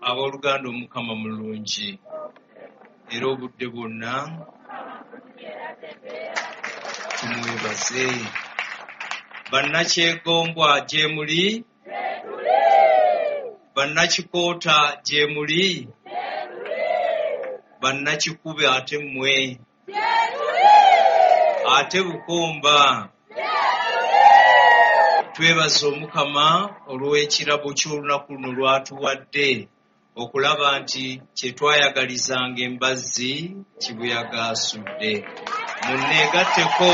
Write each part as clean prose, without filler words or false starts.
Abooluganda, Omukama mulungi era obudde bwonna tumwebaze. Bannakyegombwa gye muli? Bannakikoota gye muli? Bannakikube ate mmwe? Ate Bukomba? Twebaza Omukama olw'ekirabo ky'olunaku luno lw'atuwadde okulaba nti kye twayagalizanga embazzi kibuyaga asudde. Munneegatteko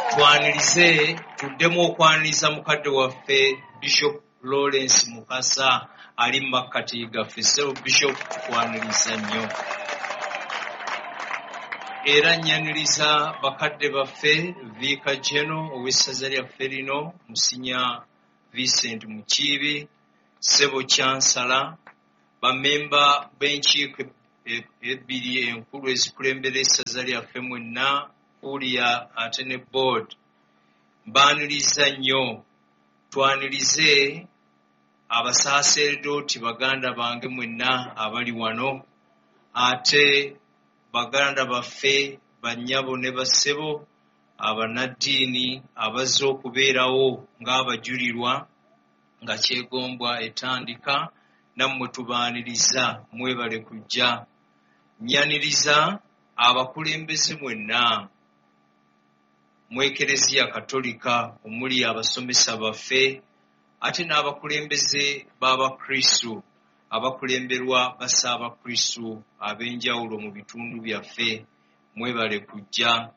twanirize, tuddemu okwaniriza mukadde waffe Bishop Lawrence Mukasa ali mu makkati gaffe. Ssebo Bishop, tukwaniriza nnyo. Era nnyaniriza bakadde baffe, Viika Geno ow'essaza lyaffe lino, Musinya Vincent Mukiibi, Ssebo Chancellor, bammemba b'enkiiko ebbiri enkulu ezikulembera essaza lyaffe mwenna, Kuria ate ne board. Mbaaniriza nnyo. Twanirize abasaaseredooti baganda bange mwenna abali wano, ate baganda baffe bannyabo ne bassebo abannaddiini abazze okubeerawo ng'abajulirwa nga Kyegombwa etandika, nammwe tubaaniriza, mwebale kujja. Nnyaniriza abakulembeze mwenna mu Ekereziya Katolika omuli abasomesa baffe ate n'abakulembeze b'Abakristu abakulemberwa Bassaabakristu ab'enjawulo mu bitundu byaffe, mwebale kujja.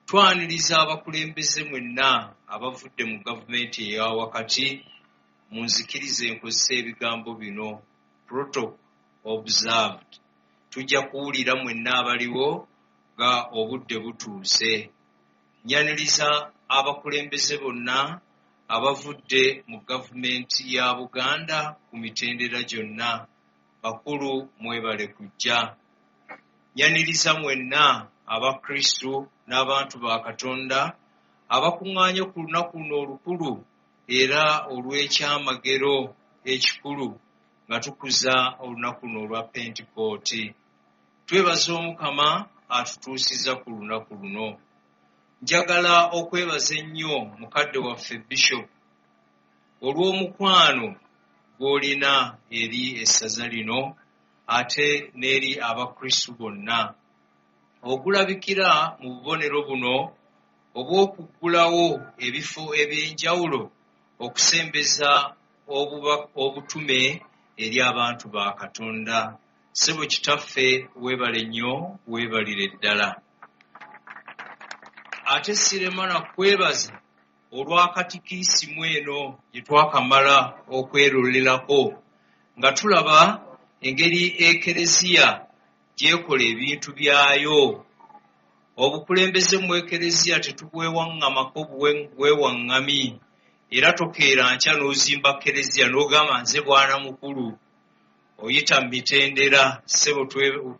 Twaniriza abakulembeze mwenna abavudde mu gavumenti eya wakati. Munzikirize nkozese ebigambo bino, protocol observed. Tujja kuwulira mwenna abaliwo nga obudde butuuse. Nnyaniriza abakulembeze bonna abavudde mu gavumenti ya Buganda ku mitendera gyonna. Bakulu, mwebale kujja. Nnyaniriza mwenna Abakristu n'abantu ba Katonda abakuŋŋaanye ku lunaku luno olukulu era olw'ekyamagero ekikulu nga tukuza olunaku luno olwa Pentekooti. Twebaza Omukama atutuusizza ku lunaku luno. Njagala okwebaza ennyo mukadde waffe Bishop olw'omukwano gw'olina eri essaza lino ate n'eri Abakristu bonna, ogulabikira mu bubonero buno obw'okuggulawo ebifo eby'enjawulo okusembeza obutume eri abantu ba Katonda. Ssebo kitaffe, weebale nnyo, weebalire ddala. Ate sirema na kwebaza olwa katikiisimu eno gye twakamala okwerolerako nga tulaba engeri Ekereziya gy'ekola ebintu byayo. Obukulembeze mu Ekereziya tetubwewaŋŋamako bwewaŋŋami, era tokeera nkya n'ozimba Kereziya n'ogamba nze bwana mukulu. Oyita mu mitendera. Ssebo,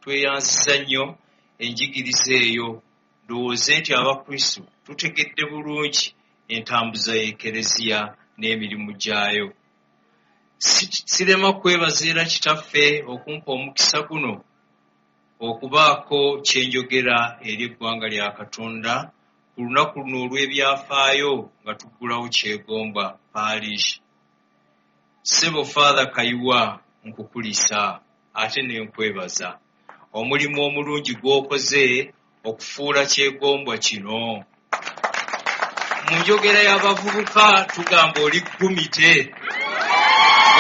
tweyanziza nnyo enjigiriza eyo. Ndowooze nti Abakristu tutegedde bulungi entambuza y'Ekereziya n'emirimu gyayo. Sirema kwebaza era kitaffe okumpa omukisa guno okubaako kye njogera eri eggwanga lya Katonda ku lunaku luno olw'ebyafaayo nga tuggulawo Kyegombwa Parish. Ssebo Father Kayiwa, nkukulisa ate ne nkwebaza omulimu omulungi gw'okoze okufuula Kyegombwa kino. Mu njogera y'abavubuka tugamba oli ggumite.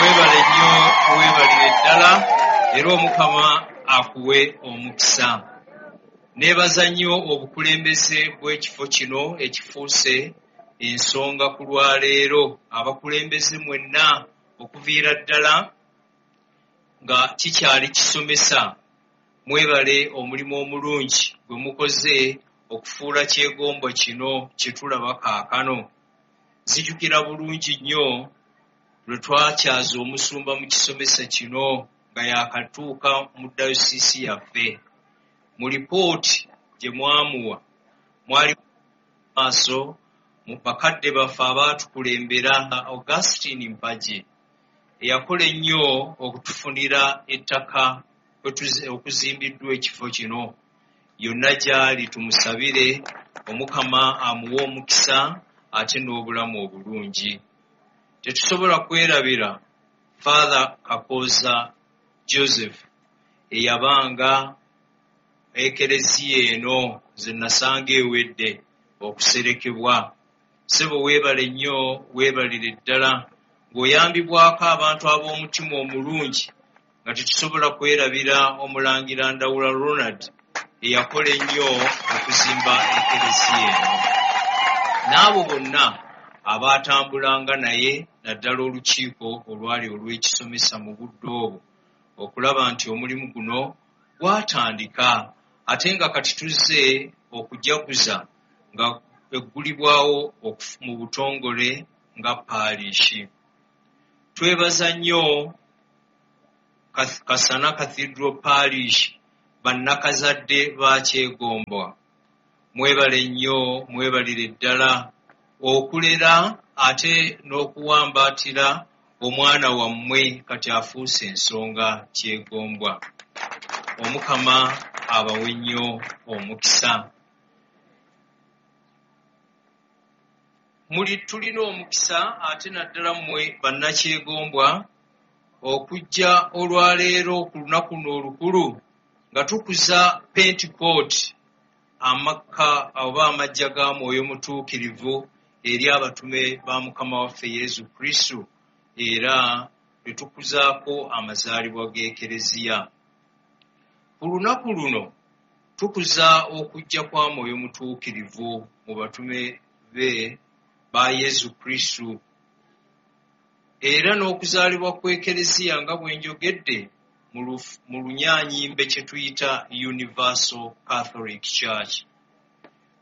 Weebale nnyo, weebalire ddala, era Omukama akuwe omukisa. Neebaza nnyo obukulembeze bw'ekifo kino ekifuuse ensonga ku lwaleero. Abakulembeze mwenna okuviira ddala nga kikyali kisomesa, mwebale omulimu omulungi gwe mukoze okufuula Kyegombwa kino kye tulaba kaakano. Nzijukira bulungi nnyo lwe twakyaza omusumba mu kisomesa kino nga yaakatuuka mu dayosiisi yaffe. Mu lipooti gye mwamuwa mwali maaso mu bakadde baffe abaatukulembera, Augustine Mpagi eyakola ennyo okutufunira ettaka okuzimbiddwa ekifo kino. Yonna gy'ali tumusabire Omukama amuwe omukisa ate n'obulamu obulungi. Tetusobola kwerabira Father Kakooza Joseph eyabanga ekereziya eno nze nasanga ewedde okuserekebwa. Ssebo weebale nnyo, weebalire ddala ng'oyambibwako abantu ab'omutima omulungi, nga tetusobola kwerabira Omulangira Ndawula Ronald eyakola ennyo okuzimba ekereziya eno, n'abo bonna abaatambulanga naye, naddala olukiiko olwali olw'ekisomesa mu budde obwo, okulaba nti omulimu guno gwatandika, ate nga kati tuzze okujaguza nga eggulibwawo mu butongole nga paalishi. Twebaza nnyo Kasana Cathedral Parish, bannakazadde ba Kyegombwa. Mwebale nnyo, mwebalire ddala okulera ate n'okuwambaatira omwana wammwe kati afuuse ensonga Kyegombwa. Omukama abawe nnyo omukisa. Muli tulina omukisa ate naddala mmwe bannakyegombwa okujja olwaleero ku lunaku luno olukulu nga tukuza Pentekooti, amakka oba amajja ga Mwoyo Mutuukirivu eri abatume ba Mukama waffe Yesu Kristo, era ne tukuzaako amazaalibwa g'Ekereziya. Ku lunaku luno tukuza okujja kwa Mwoyo Mutuukirivu mu batume be ba Yesu Kristo, era n'okuzaalibwa kw'Ekereziya nga bwe njogedde mu lunyaanyimbe kye tuyita Universal Catholic Church.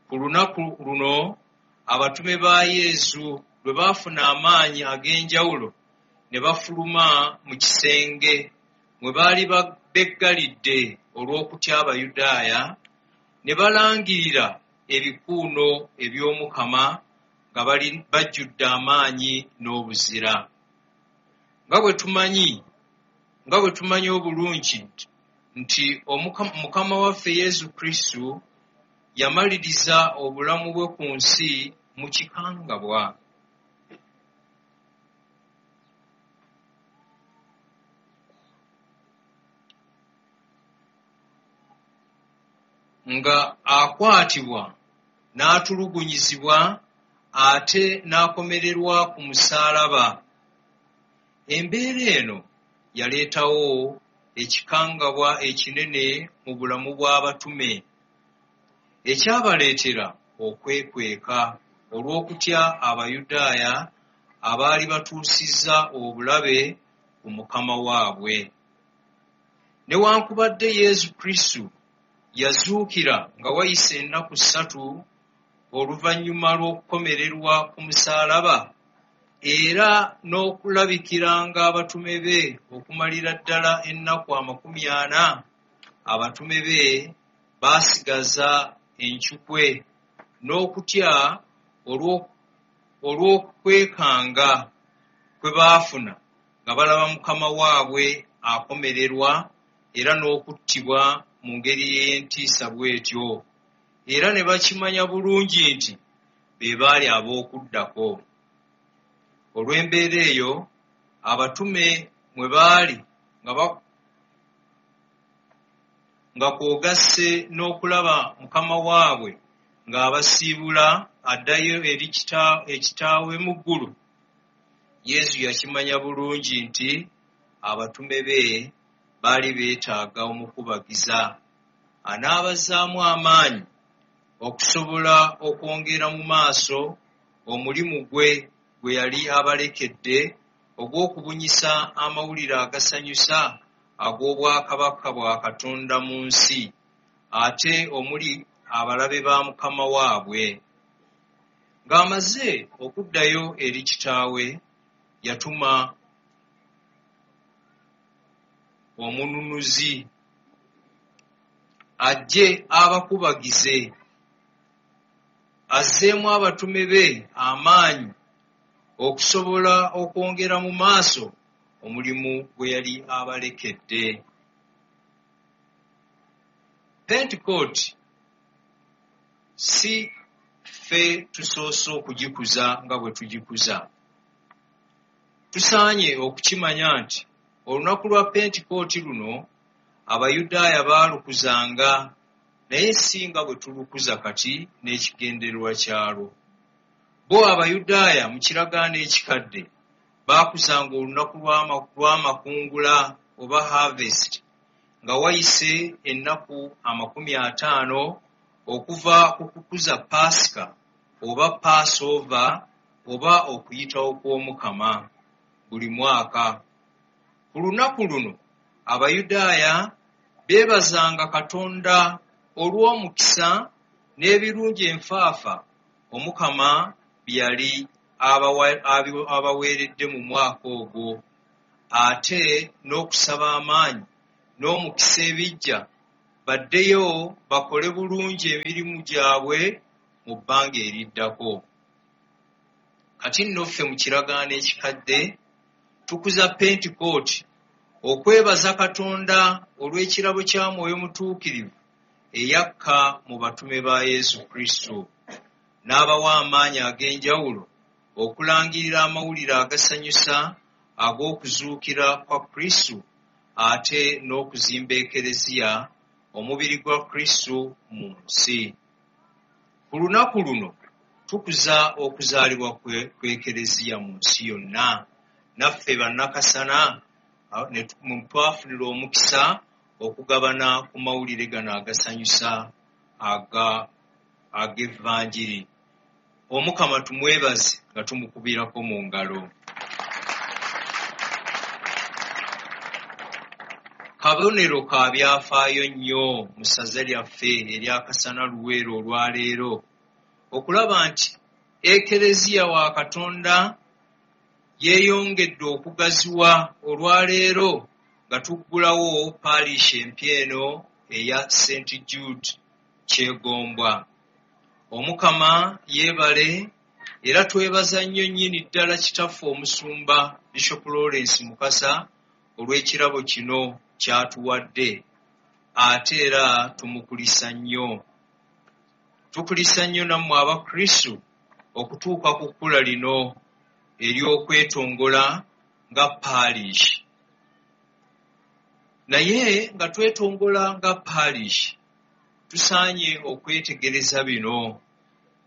Ku lunaku luno abatume ba Yesu lwe baafuna amaanyi ag'enjawulo ne bafuluma mu kisenge mwe baali beggalidde olw'okutya Abayudaaya, ne balangirira ebikuuno eby'Omukama nga bajjudde amaanyi n'obuzira. Nga bwe tumanyi obulungi nti Mukama waffe Yesu Kristo yamaliriza obulamu bwe ku nsi mu kikangabwa. Nga akwatibwa n'atulugunyizibwa ate n'akomererwa ku musaalaba. Embeera eno yaleetawo ekikangabwa ekinene mu bulamu bw'abatume, ekyabaleetera okwekweka olw'okutya Abayudaaya abaali batuusizza obulabe ku Mukama waabwe. Newankubadde Yesu Kristo yazuukira nga wayise ennaku 3 oluvannyuma lw'okukomererwa ku musaalaba, era n'okulabikiranga abatume be okumalira ddala ennaku 40, abatume be baasigaza encukwe n'okutya olw'okwekanga kwe baafuna nga balaba Mukama waabwe akomererwa era n'okuttibwa mu ngeri ey'entiisa bw'etyo, era ne bakimanya bulungi nti be baali ab'okuddako. Olw'embeera eyo abatume mwe baali nga kw'ogasse n'okulaba Mukama waabwe ng'abasiibula addayo eri ekitaawe mu ggulu, Yesu yakimanya bulungi nti abatume be baali beetaaga omukubagiza anaabazzaamu amaanyi okusobola okwongera mu maaso omulimu gwe gwe yali abalekedde ogw'okubunyisa amawulire agasanyusa ag'obwakabaka bwa Katonda mu nsi, ate omuli abalabe ba Mukama waabwe. Ng'amaze okuddayo eri kitaawe, yatuma omununuzi ajje abakubagize, azzeemu abatume be amaanyi okusobola okwongera mu maaso omulimu gwe yali abalekedde. Pentekooti si ffe tusoose okugikuza nga bwe tugikuza. Tusaanye okukimanya nti olunaku lwa Pentekooti luno Abayudaaya baalukuzanga naye si nga bwe tulukuza kati n'ekigendererwa kyalwo. Bo Abayudaaya mu kiragaano ekikadde baakuzanga olunaku lw'amakungula oba harvest nga wayise ennaku 50 okuva ku kukuza Paasika oba Passover oba okuyitawo kw'Omukama buli mwaka. Ku lunaku luno Abayudaaya beebazanga Katonda olw'omukisa n'ebirungi enfaafa Omukama bye yali abaweeredde mu mwaka ogwo, ate n'okusaba amaanyi n'omukisa ebijja baddeyo bakole bulungi emirimu gyabwe mu bbanga eriddako. Kati nno ffe mu kiragaano ekikadde tukuza Pentekooti okwebaza Katonda olw'ekirabo kya Mwoyo Mutuukirivu eyakka mu batume ba Yesu Kristo n'abawa amaanyi ag'enjawulo okulangirira amawulire agasanyusa ag'okuzuukira kwa Kristo ate n'okuzimba Ekereziya omubiri gwa Kristo mu nsi. Ku lunaku luno tukuza okuzaalibwa kw'Ekereziya mu nsi yonna. Naffe bannakasana twafunira omukisa okugabana ku mawulire gano agasanyusa ag'Evanjiri. Omukama tumwebaze nga tumukubirako mu ngalo. Kabonero ka byafaayo nnyo mu ssaza lyaffe erya Kasana Luweero olwaleero okulaba nti Ekereziya wa Katonda yeeyongedde okugaziwa olwaleero nga tuggulawo paalishi empya eno eya St Jude Kyegombwa. Omukama yeebale era twebaza nnyo nnyini ddala kitaffe omusumba Bishop Lawrence Mukasa olw'ekirabo kino ky'atuwadde, ate era tumukulisa nnyo. Tukulisa nnyo nammwe Abakristu okutuuka ku kkula lino ery'okwetongola nga paalishi. Naye nga twetongola nga paalishi, tusaanye okwetegereza bino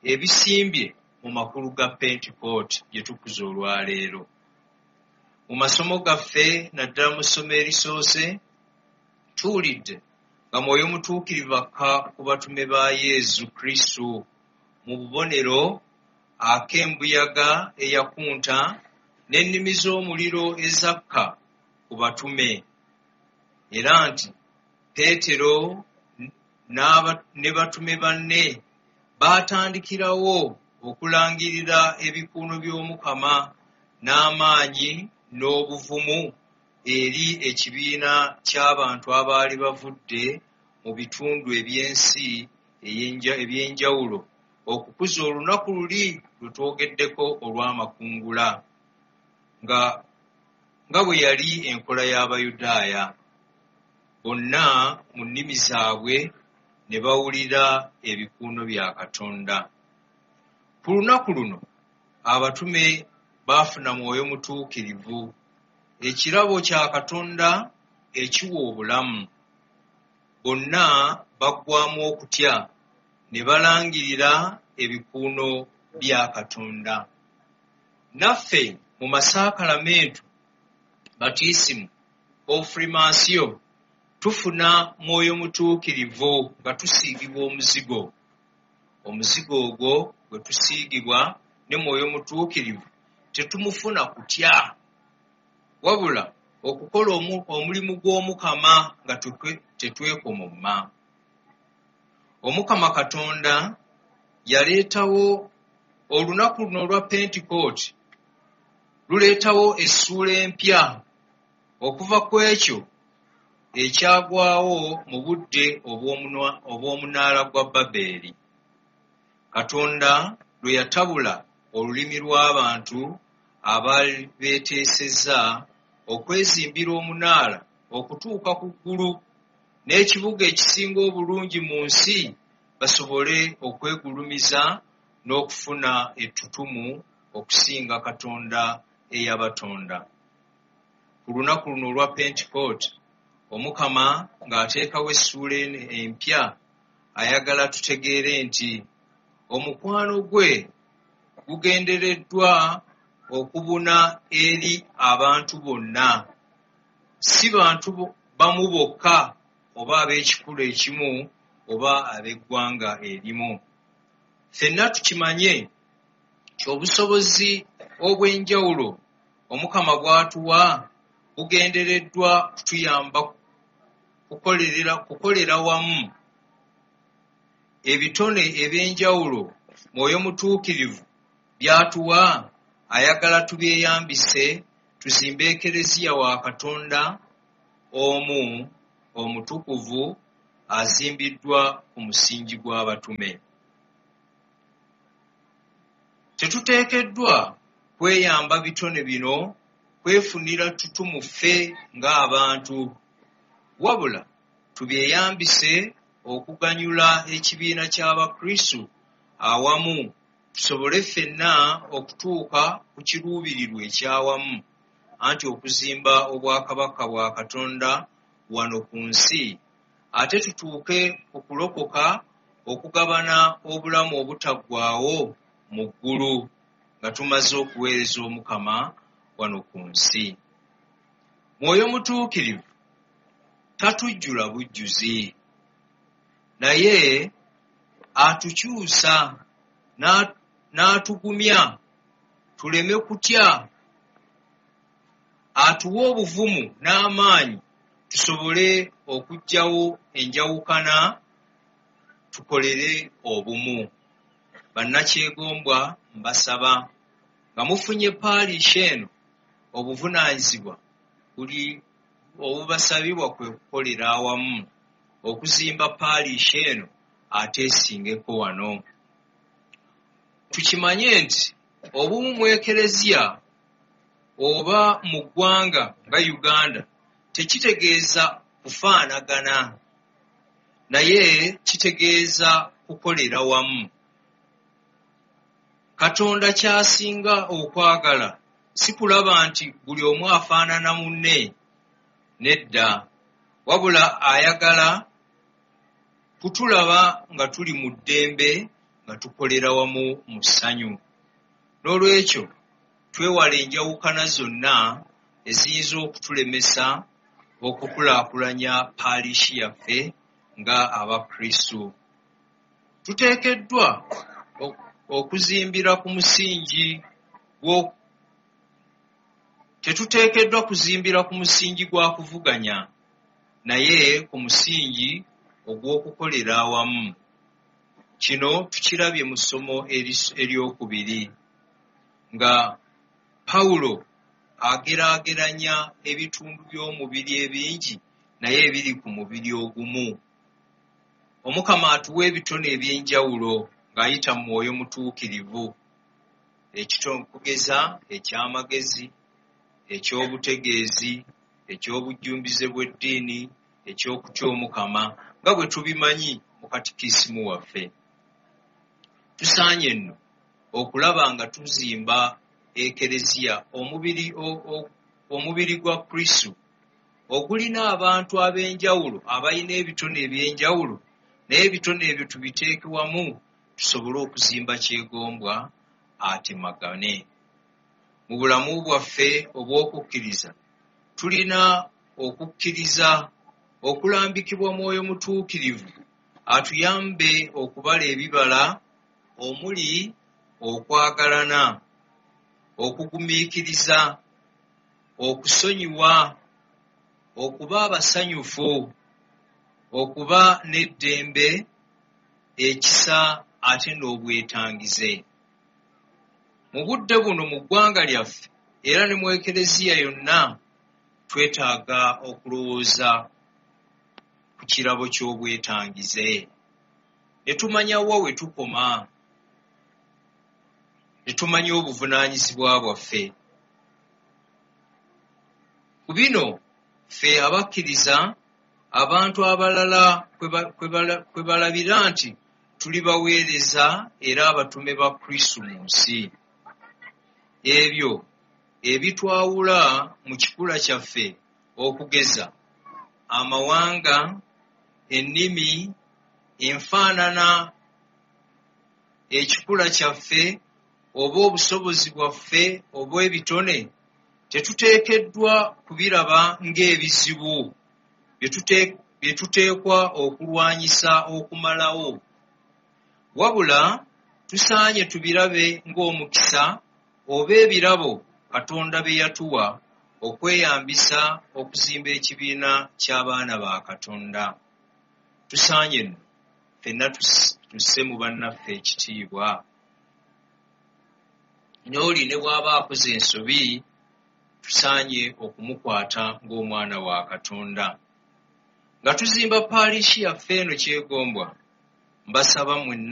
ebisimbye mu makulu ga Pentekooti gye tukuza olwaleero. Mu masomo gaffe naddala mu ssomo erisoose tuwulidde nga Mwoyo Mutuukirivu akka ku batume ba Yesu Kristo mu bubonero ak'embuyaga eyakunta n'ennimi z'omuliro ezakka ku batume, era nti Peetero ne batume banne baatandikirawo okulangirira ebikuuno by'Omukama n'amaanyi n'obuvumu eri ekibiina ky'abantu abaali bavudde mu bitundu eby'ensi eby'enjawulo okukuza olunaku luli lwe twogeddeko olw'amakungula nga bwe yali enkola y'Abayudaaya. Bonna mu nnimi zaabwe ne bawulira ebikuuno bya Katonda. Ku lunaku luno abatume baafuna Mwoyo Mutuukirivu, ekirabo kya Katonda ekiwa obulamu. Bonna baggwaamu okutya ne balangirira ebikuuno bya Katonda. Naffe mu masaakalamentu batiisimu, konfirimansiyo, tufuna Mwoyo Mutuukirivu nga tusiigibwa omuzigo. Omuzigo ogwo gwe tusiigibwa ne Mwoyo Mutuukirivu tetumufuna kutya, wabula okukola omulimu gw'Omukama nga tetwekomomma. Omukama Katonda yaleetawo olunaku luno olwa Pentekooti, luleetawo essuula empya okuva ku ekyo ekyagwawo mu budde obw'omunaala gwa Babeeri. Katonda lwe yatabula olulimi lw'abantu abaali beeteesezza okwezimbira omunaala okutuuka ku ggulu n'ekibuga ekisinga obulungi mu nsi, basobole okwegulumiza n'okufuna ettutumu okusinga Katonda eyabatonda. Ku lunaku luno olwa Pentekooti, Omukama ng'ateekawo essuula eno empya, ayagala tutegeere nti omukwano gwe gugendereddwa okubuna eri abantu bonna, si bantu bamu bokka oba ab'ekikula ekimu oba ab'eggwanga erimu. Ffenna tukimanye nti obusobozi obw'enjawulo Omukama bw'atuwa bugendereddwa kutuyamba kukolera wamu. Ebitone eby'enjawulo Mwoyo Mutuukirivu by'atuwa ayagala tubyeyambise tuzimbe Ekereziya wa Katonda omu omutukuvu azimbiddwa ku musingi gw'abatume. Tetuteekeddwa kweyamba bitone bino kwefunira ttutumu ffe ng'abantu, wabula tubyeyambise okuganyula ekibiina ky'Abakristu awamu tusobole ffenna okutuuka ku kiruubirirwa eky'awamu, anti okuzimba obwakabaka bwa Katonda wano ku nsi, ate tutuuke ku kulokoka okugabana obulamu obutaggwaawo mu ggulu nga tumaze okuweereza Omukama wano ku nsi. Mwoyo Mutuukirivu tatujjula bujjuzi, naye atukyusa n'atugumya tuleme kutya, atuwa obuvumu n'amaanyi tusobole okuggyawo enjawukana tukolere obumu. Bannakyegombwa mbasaba nga mufunye paalishi eno, obuvunaanyizibwa buli obubasabibwa kwe kukolera awamu okuzimba paalishi eno ate esingeko wano. Tukimanye nti obumu mu Ekereziya oba mu ggwanga nga Uganda tekitegeeza kufaanagana, naye kitegeeza kukolera wamu. Katonda ky'asinga okwagala si kulaba nti buli omu afaanana munne, nedda, wabula ayagala kutulaba nga tuli mu ddembe nga tukolera wamu mu ssanyu. N'olwekyo twewale enjawukana zonna eziyinza okutulemesa okukulaakulanya paalishi yaffe nga Abakristu. Tuteekeddwa okuzimbira ku musingi tetuteekeddwa kuzimbira ku musingi gwa kuvuganya, naye ku musingi ogw'okukolera awamu. Kino tukirabye mu ssomo eryokubiri nga Pawulo ageraageranya ebitundu by'omubiri ebingi naye ebiri ku mubiri ogumu. Omukama atuwa ebitone eby'enjawulo ng'ayita mu Mwoyo Mutuukirivu, okugeza eky'amagezi, eky'obutegeezi, eky'obujjumbize bw'eddiini, eky'okutya Omukama, nga bwe tubimanyi mu katikisimu waffe. Tusaanye nno okulaba nga tuzimba Ekereziya, omubiri gwa Kristo ogulina abantu ab'enjawulo abalina ebitone eby'enjawulo, naye ebitone ebyo tubiteeke wamu tusobole okuzimba kyegombwa atemagane. Mu bulamu bwaffe obw'okukkiriza tulina okukkiriza okulambikibwa Mwoyo Mutuukirivu atuyambe okubala ebibala omuli okwagalana, okugumiikiriza, okusonyiwa, okuba abasanyufu, okuba n'eddembe, ekisa ate n'obwetangize. Mu budde buno mu ggwanga lyaffe era ne mu Ekereziya yonna twetaaga okulowooza ku kirabo ky'obwetangize ne tumanya wa we tukoma, ne tumanya obuvunaanyizibwa bwaffe. Ku bino ffe abakkiriza abantu abalala kwe balabira nti tuli baweereza era abatume ba Kristo mu nsi. Ebyo ebitwawula mu kikula kyaffe okugeza amawanga, ennimi, enfaanana, ekikula kyaffe oba obusobozi bwaffe obw'ebitone tetuteekeddwa kubiraba ng'ebizibu bye tuteekwa okulwanyisa okumalawo. Wabula tusaanye tubirabe ng'omukisa oba ebirabo Katonda bye yatuwa okweyambisa okuzimba ekibiina ky'abaana ba Katonda. Tusaanye nno ffenna tusse mu bannaffe ekitiibwa. N'oli ne bw'aba akoze ensobi tusaanye okumukwata ng'omwana wa Katonda. Nga tuzimba paalishi yaffe eno Kyegombwa, mbasaba mwenna